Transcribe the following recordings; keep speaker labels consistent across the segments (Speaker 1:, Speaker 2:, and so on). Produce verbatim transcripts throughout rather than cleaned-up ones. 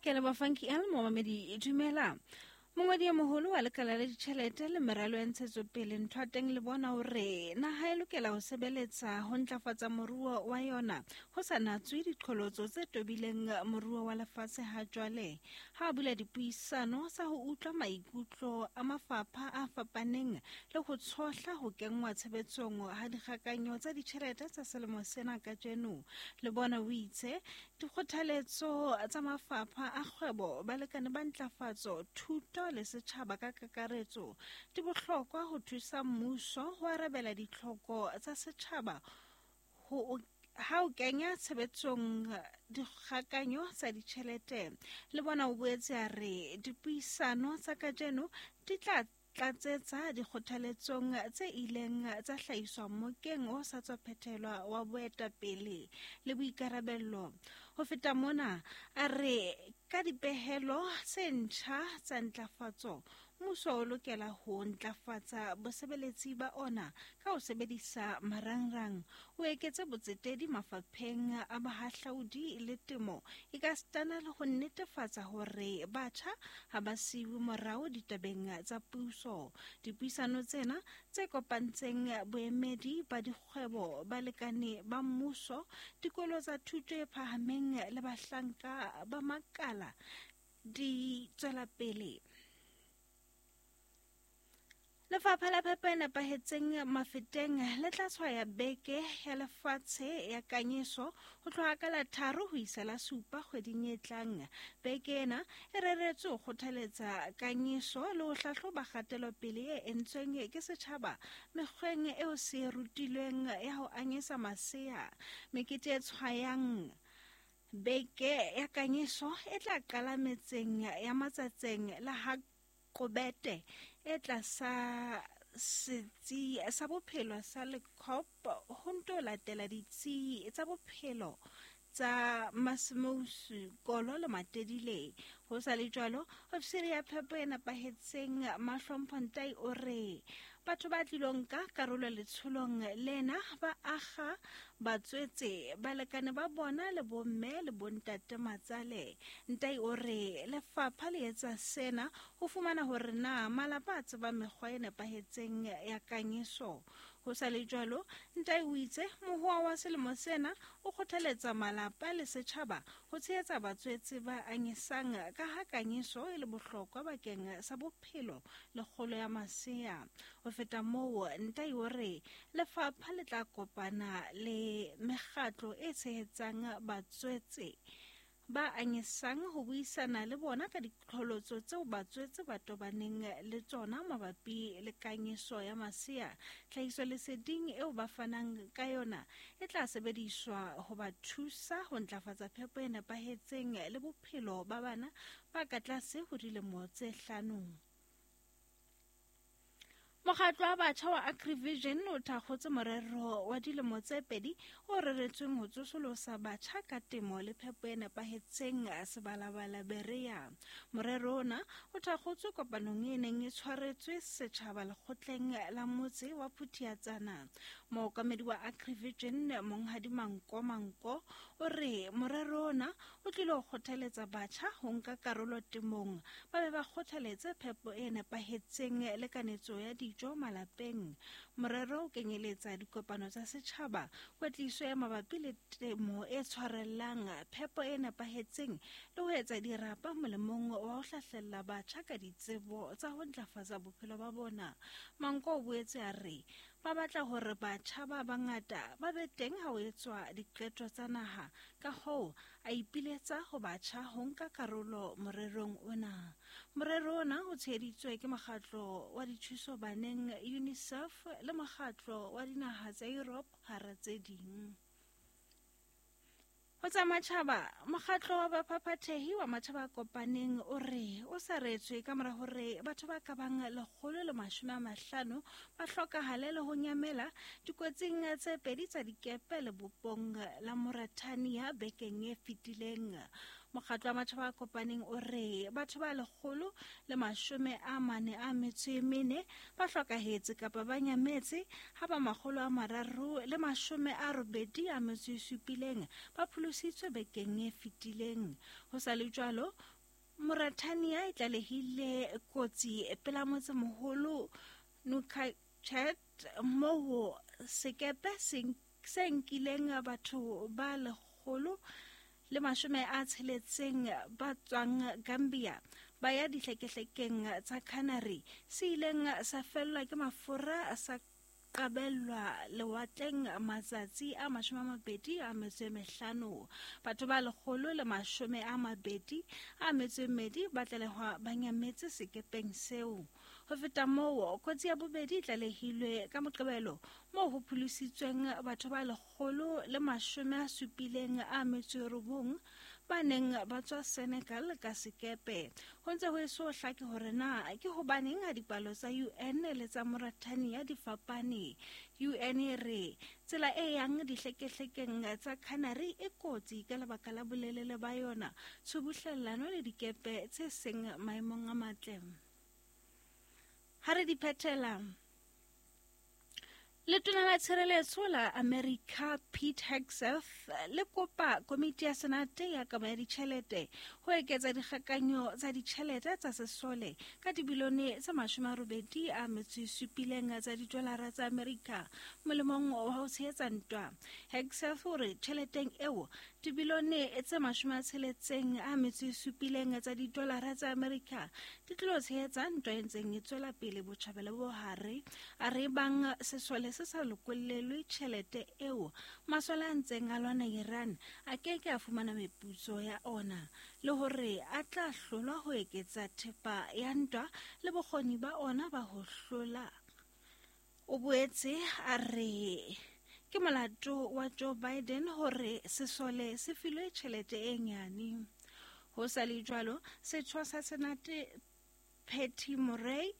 Speaker 1: Ke leboha Funky L momamedi dumela. Mongwadi e moholo wa lekala la ditjhelete le meralo ya ntshetsopele Nthoateng le bona hore naha e lokela ho sebeletsa ho ntlafatsa moruo wa yona ho sa natswe diqholotso tse tobileng moruo wa lefatshe ha jwale. Ha a bula dipuisano tsa ho utlwa maikutlo a mafapha a fapaneng le ho tshohla ho kenngwa tshebetsong ha dikgakanyo tsa ditjhelete tsa selemo sena kajeno. Le bona o itse dikgothaletso tsa mafapha a kgwebo, balekane ba ntlafatso, thuto le setjhaba ka kakaretso di bohlokwa ho thusa mmuso ho arabela ditlhoko tsa setjhaba ho ha o kenya tshebetsong dikgakanyo tsa ditjhelete. Le bona o boetse a re dipuisano tsa kajeno di tla tlatsetsa dikgothaletsong tse ileng tsa hlahiswa mokeng o sa tswa phethelwa wa boetapele le boikarabello. Ho feta mona, a re ka dipehelo tse ntjha tsa ntlafatso, mmuso o lokela ho ntlafatsa bosebeletsi ba ona ka ho sebedisa marangrang, o eketse botsetedi mafapheng a bohahlaudi le temo, ekasitana le ho netefatsa hore batjha ha ba siuwe morao ditabeng tsa puso. Dipuisano tsena tse kopantseng boemedi ba dikgwebo, balekane ba mmuso, dikolo tsa thuto e phahameng le bahlanka ba makala di tswela pele. Lefapha la phepo e nepahetseng Mafeteng le tla tshwaya beke ya lefatshe ya kanyeso ho tloha ka la tharo ho isa la supa kgweding e tlang. Beke ena e reretswe ho kgothaletsa kanyeso le ho hlahloba kgatelopele e entsweng ke setjhaba mekgweng eo se e rutilweng ya ho anyesa masea. Mekete e tshwayang beke ya kanyeso e tla qala metseng ya Matsatseng la ha Kobete e tlasa setsi sa bophelo sa Lekhop ho nto latela ditsi tsa bophelo tsa Masimousu, Kolo le Matedile. Ho sa le jwalo, ofisiri ya phepo e nepahetseng Mahlompho Ntai o re batho ba tlilong ka karolo letsholong lena ba akga batswetse, balekane ba bona le bomme le bontate matsale. Ntai o re lefapha le etsa sena ho fumana hore na malapa a tseba mekgwa e nepahetseng ya kanyeso. Ho sa le jwalo, Ntai o itse mohoa wa selemo sena o kgothaletsa malapa le setjhaba ho tshehetsa batswetse ba anyesang ka ha kanyeso e le bohlokwa bakeng sa bophelo le kgolo ya masea. Ho feta moo, Ntai o re lefapha le tla kopana le mekgatlo e tshehetsang batswetse ba anyesang ho buisana le bona ka diqholotso tseo batswetse ba tobaneng le tsona mabapi le kanyeso ya masea. Tlhahisoleseding eo ba fanang ka yona e tla sebediswa ho ba thusa ho ntlafatsa phepo e nepahetseng le bophelo ba bana ba ka tlase ho dilemo tse hlano. Mokgatlo wa batjha wa Agrivision o thakgotse morero wa dilemo tse pedi o reretsweng ho tsosolosa batjha ka temo le phepo e nepahetseng Sebalabala Berea. Morero ona o thakgotswe kopanong e neng e tshwaretswe setjhaba lekgotleng la motse wa Phuthiatsana. Mookamedi wa Agrivision Monghadi Manko Manko o re morero ona o tlile ho kgothaletsa batjha ho nka karolo temong, ba be ba kgothaletse phepo e nepahetseng le kanetso ya dijo malapeng. Morero o kenyeletsa dikopano tsa setjhaba, kwetliso ya mabapi le temo e tshwarellang, phepo e nepahetseng le ho etsa dirapa molemong wa ho hlahlella batjha ka ditsebo tsa ho ntlafatsa bophelo ba bona. Manko o boetse a re ba batla hore batjha ba bangata ba be teng ha ho etswa diqeto tsa naha, ka hoo a ipiletsa ho batjha ho nka karolo morerong ona. Morero ona o tsheheditswe ke mokgatlo wa dithuso baneng UNICEF le mokgatlo wa dinaha tsa Europe hara tse ding. Ho tsa matjhaba, mokgatlo wa baphaphathehi wa matjhaba a kopaneng o re o saretswe ka mora hore batho ba ka bang lekgolo le mashome a mahlano ba hlokahale le ho nyamela dikotsing tse pedi tsa dikepe lebopong la Mauritania bekeng e fetileng. Mokgatlo wa Matjhaba a Kopaneng o re batho ba lekgolo le mashome a mane a metso e mene ba hlokahetse kapa ba nyametse ha ba makgolo a mararo le mashome a robedi a metso e supileng ba pholositswe bekeng e fetileng. Ho sa le jwalo, Mauritania e tlalehile kotsi pela motsemoholo Nouakchott moo sekepe se nkileng batho ba lekgolo le mashome a tsheletseng ba tswang Gambia ba ya dihlekehlekeng tsa Canary se ileng sa fellwa ke mafura sa qabellwa lewatleng matsatsi a mashome a mabedi a metso e mehlano. Batho ba lekgolo le mashome a mabedi a metso e mmedi ba tlalehwa ba nyametse sekepeng seo. Ho feta moo, kotsi ya bobedi e tlalehilwe ka Moqebelo moo ho pholositsweng batho ba lekgolo le mashome a supileng a metso e robong ba neng ba tswa Senegal ka sekepe. Ho ntse ho eso hlake hore na ke hobaneng ha dipalo tsa U N le tsa Mauritania di fapane. U N e re tsela e yang dihlekehlekeng tsa Canary e kotsi ka lebaka la bolelele ba yona, tshubuhlellano le dikepe tse seng maemong a matle. Ha re di phethela, Letona la Tshireletso la America Pete Hegseth le kopa komiti ya Senate ya kabo ya ditjhelete ho eketsa dikgakanyo tsa ditjhelete tsa sesole ka dibilione tse mashome a robedi a metso e supileng tsa didolara tsa America molemong wa ho tshehetsa ntwa. Hegseth o re tjheleteng eo dibilione tse mashome a tsheletseng a metso e supileng tsa didolara tsa America di tlo tshehetsa ntwa e ntseng e tswela pele botjhabela bo hare. A re bang sesole se sa lokollelwe tjhelete eo, masole a ntseng a lwana Iran a ke ke a fumana meputso ya ona, le hore a tla hlolwa ho eketsa thepa ya ntwa le bokgoni ba ona ba ho hlola. O boetse a re ke molato wa Joe Biden hore sesole se filwe tjhelete e nyane. Ho sa le jwalo, setho sa Senate Patty Murray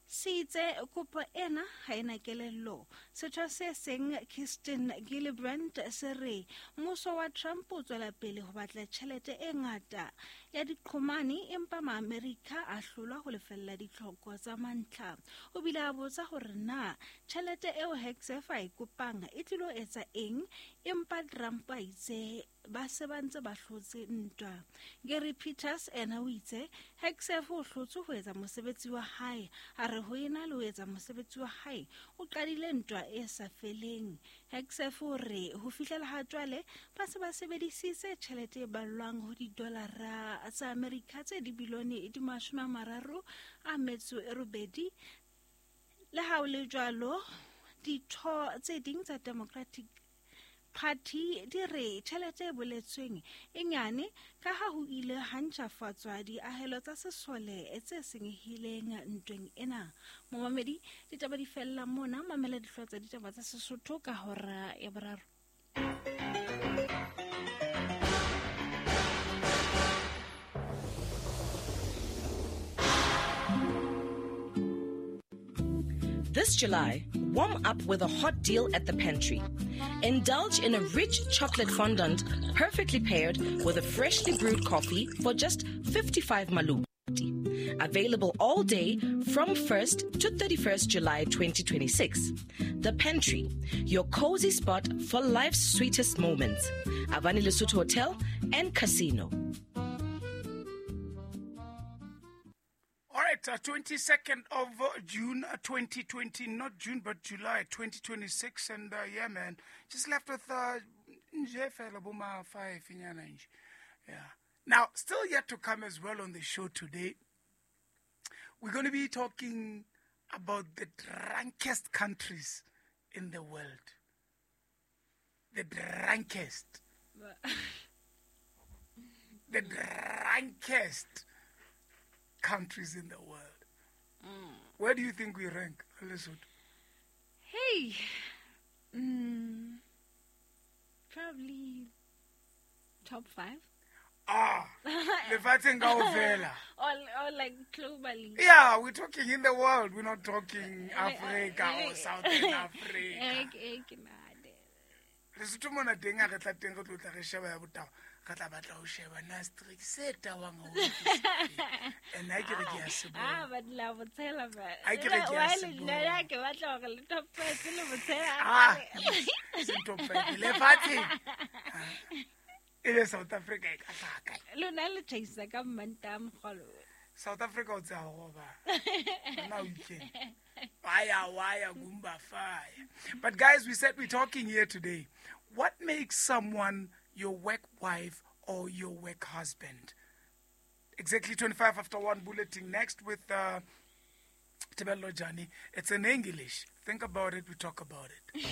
Speaker 1: se itse kopo ena ha ena kelello. Setho se seng Kirsten Gillibrand se re mmuso wa Trump o tswela pele ho batla tjhelete e ngata ya diqhomane empa Maamerika a hlolwa ho lefella ditlhoko tsa mantlha. O bile a botsa hore na tjhelete eo Hegseth a e kopang e tlilo etsa eng, empa Trump a itse ba se ba ntse ba hlotse ntwa. Gary Peters ena o itse Hegseth o hlotse ho etsa mosebetsi wa hae, a re ho ena le ho etsa mosebetsi wa hae o qadile ntwa e sa feleng. Hegseth o re ho fihlela ha jwale ba se ba sebedisitse tjhelete e ballwang ho didolara tsa Amerika tse dibilione di mashome a mararo a metso e robedi. Le ha ho le jwalo, ditho tse ding tsa Democratic Party di re tjhelete e boletsweng e nyane ka ha ho ile ha ntjhafatswa diahelo tsa sesole tse senyehileng ntweng ena. Momamedi, ditaba di fella mona. Mamela dihlooho tsa ditaba tsa Sesotho ka hora ya boraro.
Speaker 2: This July, warm up with a hot deal at the pantry. Indulge in a rich chocolate fondant perfectly paired with a freshly brewed coffee for just fifty-five maluti. Available all day from first to thirty-first July twenty twenty-six. The Pantry, your cozy spot for life's sweetest moments. Avani Lesotho Hotel and Casino.
Speaker 3: All right, uh, twenty-second of June twenty twenty, not June, but July twenty twenty-six. And uh, yeah, man, just left with uh, five. Yeah. Now, still yet to come as well on the show today, we're going to be talking about the drunkest countries in the world. The drunkest. The drunkest countries in the world. Mm. Where do you think we rank, Lesotho?
Speaker 1: Hey, mm, probably top five.
Speaker 3: Ah, lefatsheng kaofela.
Speaker 1: Or, or like globally.
Speaker 3: Yeah, we're talking in the world. We're not talking Africa or Southern Africa. Lesotho mona teng ha re tla teng re tlo tla re sheba ya botaba. Re tla batla ho sheba na streak se tawang haholo ke sefe. And ha ke re ke a se
Speaker 1: Ah,
Speaker 3: bona.
Speaker 1: but la botshela ba.
Speaker 3: Ha ke re ke a
Speaker 1: Why
Speaker 3: se
Speaker 1: le
Speaker 3: bona.
Speaker 1: nna ke batla hore le top five le botshela.
Speaker 3: Ah, seng top five. Lefatsheng. Ah, ebe South Africa e ka hlaha kae?
Speaker 1: Lona le tjhaisa ka Mmantaha mokgolo.
Speaker 3: South Africa o tsaya go ba. Now weekend. Wire, wire, goomba, fire. But guys, we said we're talking here today. What makes someone your work wife or your work husband? Exactly twenty-five after one bulletin next with uh, Tebello Jani. It's in English. Think about it, we talk about it.